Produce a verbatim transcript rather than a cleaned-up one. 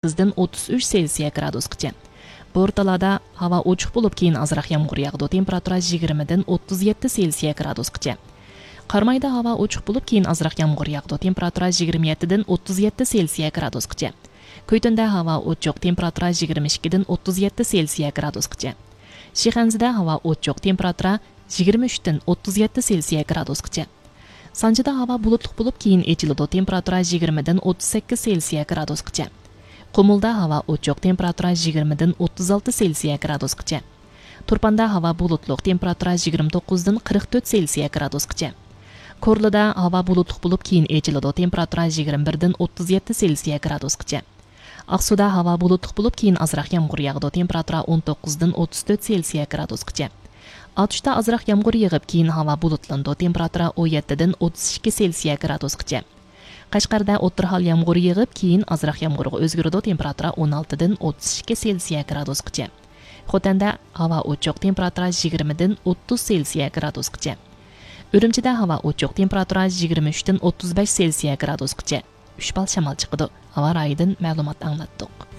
سەككىزدىن ئوتتۇز ئۈچ سېلسىيە گرادۇسقىچە. بورتالادا ھاۋا ئوچۇق بولۇپ، كېيىن ئازراق يامغۇر ياغىدۇ، تېمپېراتۇرا يىگىرمىدىن ئوتتۇز يەتتە سېلسىيە گرادۇسقىچە. قارامايدا ھاۋا ئوچۇق بولۇپ، كېيىن ئازراق يامغۇر ياغىدۇ، تېمپېراتۇرا يىگىرمە يەتتىدىن ئوتتۇز يەتتە سېلسىيە گرادۇسقىچە. كۈيتۈندە ھاۋا ئوچۇق، تېمپېراتۇرا يىگىرمە ئىككىدىن ئوتتۇز يەتتە سېلسىيە گرادۇسقىچە. شىخەنزىدە ھاۋا ئوچۇق، تېمپېراتۇرا يىگىرمە ئۈچتىن ئوتتۇز يەتتە سېلسىيە گرادۇسقىچە. سانجىدا ھاۋا بۇلۇتلۇق بولۇپ، كېيىن ئېچىلىدۇ، تېمپېراتۇرا يىگىرمىدىن ئوتتۇز سەككىز سېلسىيە گرادۇسقىچە. قۇمۇلدا ھاۋا ئوچۇق، تېمپېراتۇرا يىگىرمىدىن ئوتتۇز ئالتە سېلسىيە گرادۇسقىچە. تۇرپاندا ھاۋا بۇلۇتلۇق، تېمپېراتۇرا يىگىرمە توققۇزدىن قىرىق تۆت سېلسىيە گرادۇسقىچە. كورلىدا ھاۋا بۇلۇتلۇق بولۇپ، كېيىن ئېچىلىدۇ، تېمپېراتۇرا يىگىرمە بىردىن ئوتتۇز يەتتە سېلسىيە گرادۇسقىچە. ئاقسۇدا ھاۋا بۇلۇتلۇق بولۇپ، كېيىن ئازراق يامغۇر ياغىدۇ، تېمپېراتۇرا ئون توققۇزدىن ئوتتۇز تۆت سېلسىيە گرادۇسقىچە. ئاتۇشتا ئازراق يامغۇر يېغىپ، كېيىن ھاۋا بۇلۇتلىنىدۇ، تېمپېراتۇرا ئون يەتتىدىن ئوتتۇز ئىككى سېلسىيە گرادۇسقىچە. قەشقەردە ئوتتۇرا ھال يامغۇر يېغىپ، كېيىن ئازراق يامغۇرغا ئۆزگىرىدۇ، تېمپېراتۇرا ئون ئالتىدىن ئوتتۇز ئىككى سېلسىيە گرادۇسقىچە. خوتەندە ھاۋا ئوچۇق، تېمپېراتۇرا يىگىرمىدىن ئوتتۇز سېلسىيە گرادۇسقىچە. ئۈرۈمچىدە ھاۋا ئوچۇق، تېمپېراتۇرا يىگىرمە ئۈچتىن ئوتتۇز بەش سېلسىيە گرادۇسقىچە. ئۈچ بال شامال چىقىدۇ. ھاۋا رايىدىن مەلۇمات ئاڭلاتتۇق.